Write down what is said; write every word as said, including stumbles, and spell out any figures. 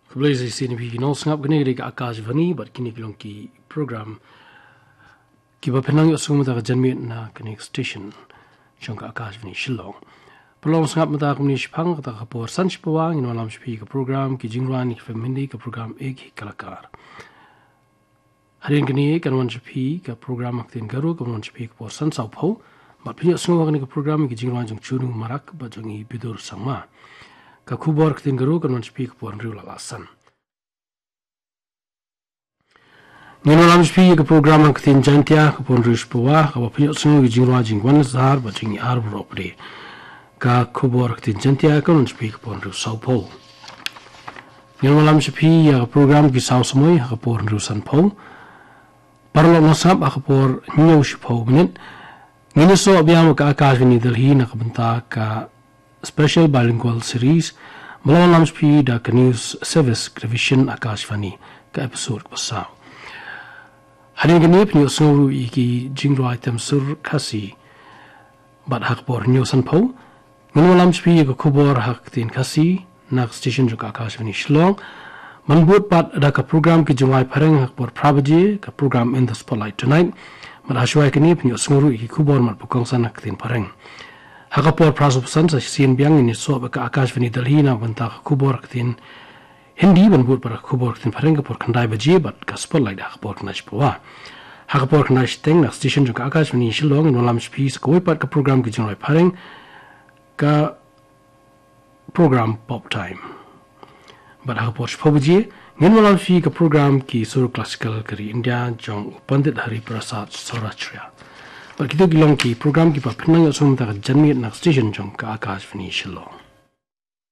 Khublei sa shisien ïa phi ki nongsngap, kane ka dei ka Akashvani bad kine ki long ki program kiba phin nang ïohsngew mynta ka janmiet na kane ka station jong ka Akashvani Shillong. Paralok nongsngap, mynta kumne shaphang kata ka por san shiphew ngin wallam sha phi ka program ki jingrwai na ki film Hindi, ka program Ek Hi Kalakar. Hadien kane kan wan sha phi ka program ha ktien Garo kan wan sha phi ka por san sawphew. Bad phin ïohsngew ha kane ka program ïa ki jingrwai jong Chunu Marak bad jong i Bidur Sangma. Ka khubor ha ktien Garo kan wan sha phi ka por hynriew la la san. Ngin wallam sha phi ïa ka program ha ktien Jaintia ka por hynriew shiphew, kaba phin ïohsngew ïa ki jingrwai jong i Wanleh Sahar bad jong i R Baropade. Ka khubor ha ktien Jaintia kan wan sha phi ka por hynriew sawphew. Ngin wallam sha phi ïa ka program Ki Saw Samoi ha ka por hynriew sanphew. Paralok nongsngap, ha ka por hynñiew shiphew minit ngin ïasoh biang bad ka Akashvani Delhi na ka bynta ka Special Bilingual Series ba la wallam sha phi da ka News Service Division Akashvani, ka episode kaba saw. Hadien kane phin ïohsngew ruh ïa ki jingrwai tem sur Khasi. Bad ha ka por hynñiew sanphew ngin wallam sha phi ïa ka khubor ha ka ktien Khasi na ka station jong ka Akashvani Shillong, ban bud pat da ka program ki jingrwai phareng ha ka por phra baje, ka program In the Spotlight Tonight. Bad ha shuwa kane phin ïohsngew ruh ïa ki khubor mat ba kongsan ha ka ktien phareng. Ha ka por phra shiphew san sa shisien biang ngin ïasoh bad ka Akashvani Delhi na ka bynta ka khubor ha ka ktien Hindi, ban bud pat da ka khubor ha ka ktien phareng ka por khyndai baje bad ka Spotlight ha ka por khyndai shiphew. Ha ka por khyndai shiteng na ka station jong ka Akashvani Shillong ngin wallam sha phi sa kawei pat ka program ki jingrwai phareng, ka program Pop Time. Bad ha ka por shiphew baje ngin wallam sha phi ka program Ki Sur Classical ka ri India jong u Pandit Hari Prasad Saurashtriya. Bad kito ki long ki program kiba phin nang ïohsngew mynta ka janmiet na ka station jong ka Akashvani Shillong.